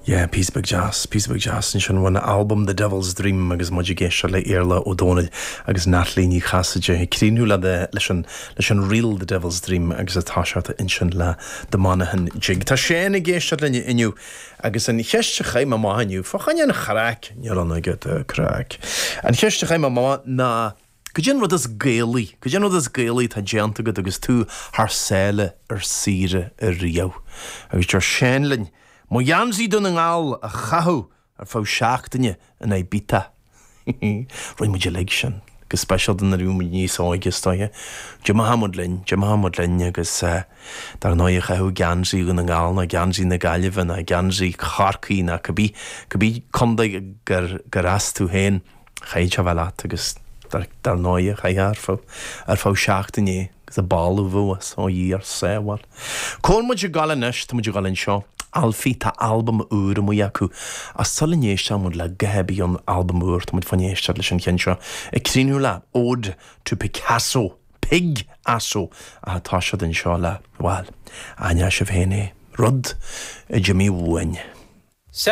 Yeah, píosa beag deas, píosa beag deas ansin ón albam The Devil's Dream agus muid ag éisteacht le Iarla Ó Dónaill agus Natalie Ní Chasaide ag críochnú le the, leis an, leis an ríl The Devil's Dream agus ag toiseacht ansin le The Monaghan Jig. Tá Shane ag éisteacht linn inniu agus an cheist a chaith mé amach inniu, fá choinne an chraic, níl ann agat craic, an cheist a chaith mé amach ná, Cad é an rud is Gaelaí, cad é an rud is Gaelaí atá déanta agat agus tú thar sáile ar saoire ariamh? Agus deir Shane linn, Mo gheansaí Dún na nGall a chaitheamh ar feadh seachtaine in Ibiza. Rinne muid uilig sin, go speisialta nuair a bhí muid níos óige is dóiche. D'imeodh muid linn, d'imeodh muid linn agus dar ndóigh chaitheamh geansaí Dhún na nGall nó geansaí na Gaillimhe nó geansaí Chorcaí nó cibé, cibé contae gur, gur as tú féin. Chaithfeadh sé a bheith leat agus dar ndóighe chaithfeá ar feadh, ar feadh seachtaine é agus an boladh a bheadh as, ó Dhia ár sábháil. Cá bhfuil muid ag dul anois, tá muid ag dul anseo, Alfie, tá albam úr amuigh acu ach sula n-éistfidh muid le guth ar bith ón albam úr, tá muid fá choinne éisteacht leis an cheann seo ag críochnú le Ode to Picasso, Pig-asso, ach tá siad anseo le, bhuel, aithneoidh sibh féin é, rud a d'imigh uainn.